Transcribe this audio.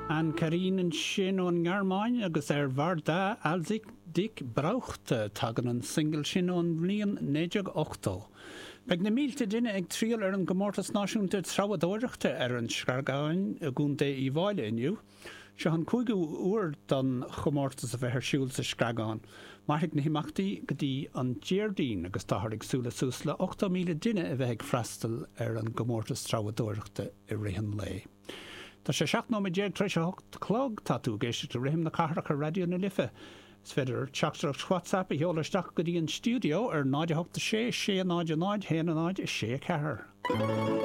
Anne-Karin ansin ón nGearmáin agus Er war da, als ich dich brauchte. Tagann an singil sin ón mbliain 1980. Beidh na mílte duine ag triall ar an gcomórtas náisiúnta treabhadóireachta ar an Screagán i gContae Uíbh Fhailí inniu. Seo an cúigiú huair don chomórtas a bheith ar siúl sa Screagán. Mairfidh na himeachtaí go dtí an Déardaoin agus táthar ag súil le suas le 80,000 duine a bheith ag freastal ar an gcomórtas treabhadóireachta i rith an lae. Tá sé 17 nóiméad tar éis a 8 a chlog. Tá tú ag éisteacht le Rithim na Cathrach ar Raidió na Life. Is féidir teachtaireacht WhatsApp a sheoladh isteach go dtí an stiúideo ar 0 8 6 6 0 0 1 0 6 4.